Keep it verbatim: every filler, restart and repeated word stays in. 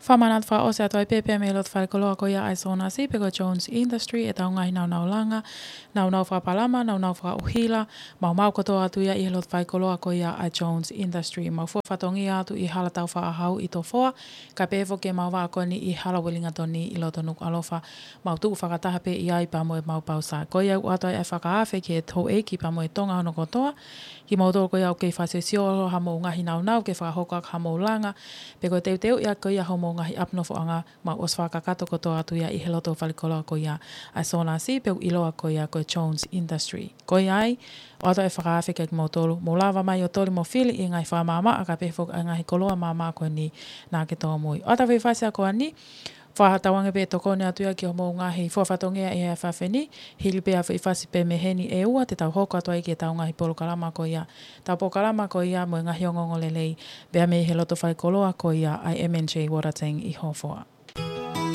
Fakamanatu fakaʻosi atu ai pē pea mei he loto faikoloa ko ia ʻa e Sonasi pe ko e Jones Industry, ʻetau ngaahi naunau langa, naunau fakapalama, naunau fakaʻuhila, maumau kotoa atu ia ʻi he loto faikoloa ko ia ʻa e Jones Industry. Mau fua fatongia atu ʻi Hala Taufaʻāhau ʻi Tofoa, kae pehē foki ʻemau vaʻa ko eni ʻi Hala Uelingatoni ʻi loto Nukuʻalofa. Mau tuʻu fakataha pē ʻi ai pea mo ʻemau pausa. Ko ia ʻoku ʻoatu ai ʻa e fakaafe ki he houʻeiki pea mo e Tonga hono kotoa, kimoutolu ko ia ʻoku kei fakasiosio ʻa hoʻomou ngaahi naunau ke fakahoko ʻaki haʻamou langa, pe ko e teuteuʻi ʻaki ko ia hoʻomou ngaahi ʻapi nofoʻanga, mau ʻosi fakakakato kotoa atu ia ʻi he loto faikoloa ko ia ʻa e Sonasi pe ʻoku ʻiloa ko ia ko e Jones Industry. Ko ia ai, ʻoatu ʻa e fakaafe kiate kimoutolu, mou lava mai ʻo toli mo fili ʻi he ngaahi fakamaʻamaʻa kae pehē foki ʻa e ngaahi koloa maʻamaʻa ko eni naʻa ke tōmui. ʻOatu ʻa e faifasi ko eni, fakatauange pē ʻe tokoni atu ia ki hoʻomou ngaahi fua fatongia ʻi he efiafi ni, hili pē ʻa e faifasi pē mei heni ʻe ua te tau hoko atu ai ki heʻetau ngaahi polokalama ko ia, ʻetau polokalama ko ia mo e ngaahi ongoongolelei, pea mei he loto faikoloa ko ia ʻa e M and J Water Tank ʻi Hofoa.